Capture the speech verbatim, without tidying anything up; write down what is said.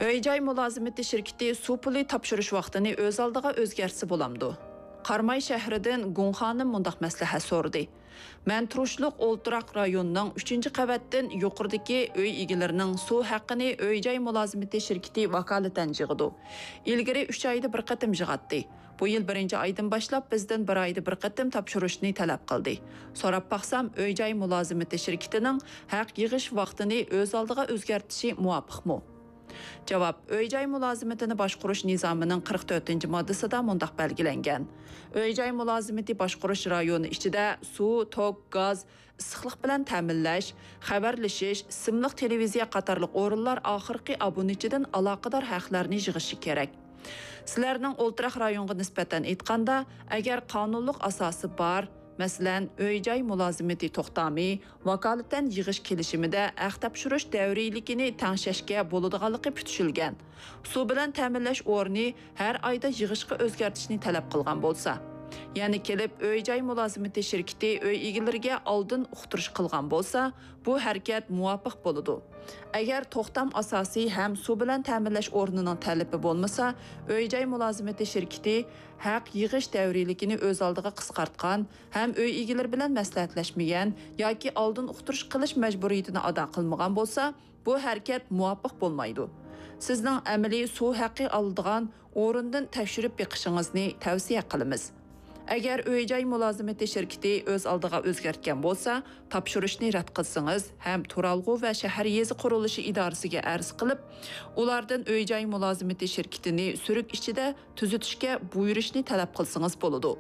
ئۆي-جاي مۇلازىمىتى شىركىتى سۇ پۇلى تاپشۇرۇش ۋاقتىنى ئۆز ئالدىغا ئۆزگەرتسە بولامدۇ؟ قاراماي شەھىرىدىن گۇڭ خانىم مۇنداق مەسلىھەت سورىدى. مەن تۇرۇشلۇق ئولتۇراق رايوننىڭ ئۈچىنچى قەۋەتتىن يۇقىرىدىكى ئۆي ئىگىلىرىنىڭ سۇ ھەققىنى ئۆي-جاي مۇلازىمىتى شىركىتى ۋاكالىتەن يىغىدۇ. ئىلگىرى ئۈچ ئايدا بىر قېتىم يىغاتتى. بۇ يىل بىرىنچى ئايدىن باشلاپ بىزدىن بىر ئايدا بىر قېتىم تاپشۇرۇشنى تەلەپ قىلدى. سوراپ باقسام، ئۆي-جاي مۇلازىمىتى شىركىتىنىڭ ھەق يىغىش ۋاقتىنى ئۆز ئالدىغا ئۆزگەرتىشى مۇۋاپىقمۇ؟ جاۋاب، ئۆي-جاي مۇلازىمىتىنى باشقۇرۇش نىزامىنىڭ قىرىق تۆتىنچى ماددىسىدا مۇنداق بەلگىلەنگەن: ئۆي-جاي مۇلازىمىتى باشقۇرۇش رايونى ئىچىدە سۇ، توك، گاز، ئىسسىقلىق بىلەن تەمىنلەش، خەۋەرلىشىش، سىملىق تېلېۋىزىيە قاتارلىق ئورۇنلار ئاخىرقى ئابۇنىچىدىن ئالاقىدار ھەقلەرنى يىغىشى كېرەك. سىلەرنىڭ ئولتۇراق رايونغا نىسبەتەن ئېيتقاندا، ئەگەر قانۇنلۇق ئاساسى بار، مەسىلەن، ئۆي-جاي مۇلازىمىتى توختامى، ۋاكالىتەن يىغىش كېلىشىمىدە ھەق تاپشۇرۇش دەۋرىيلىكىنى تەڭشەشكە بولىدىغانلىقى پۈتۈشۈلگەن، سۇ بىلەن تەمىنلەش ئورنى ھەر ئايدا يىغىشقا ئۆزگەرتىشنى تەلەپ قىلغان بولسا، يەنە كېلىپ ئۆي-جاي مۇلازىمىتى شىركىتى ئۆي ئىگىلىرىگە ئالدىن ئۇقتۇرۇش قىلغان بولسا، بۇ ھەرىكەت مۇۋاپىق بولىدۇ. ئەگەر توختام ئاساسى ھەم سۇ بىلەن تەمىنلەش ئورنىنىڭ تەلىپى بولمىسا، ئۆي-جاي مۇلازىمىتى شىركىتى ھەق يىغىش دەۋرىيلىكىنى ئۆز ئالدىغا قىسقارتقان ھەم ئۆي ئىگىلىرى بىلەن مەسلىھەتلەشمىگەن ياكى ئالدىن ئۇقتۇرۇش قىلىش مەجبۇرىيىتىنى ئادا قىلمىغان بولسا، بۇ ھەرىكەت مۇۋاپىق بولمايدۇ. سىزنىڭ ئەمەلىي سۇ ھەققى ئالىدىغان ئورۇندىن تەكشۈرۈپ بېقىشىڭىزنى تەۋسىيە قىلىمىز. ئەگەر ئۆي-جاي مۇلازىمىتى شىركىتى ئۆز ئالدىغا ئۆزگەرتكەن بولسا، تاپشۇرۇشنى رەت قىلسىڭىز ھەم تۇرالغۇ ۋە شەھەر يېزا قۇرۇلۇشى ئىدارىسىگە ئەرز قىلىپ، ئۇلاردىن ئۆي-جاي مۇلازىمىتى شىركىتىنى سۈرۈك ئىچىدە تۈزىتىشكە بۇيرۇشنى تەلەپ قىلسىڭىز بولىدۇ.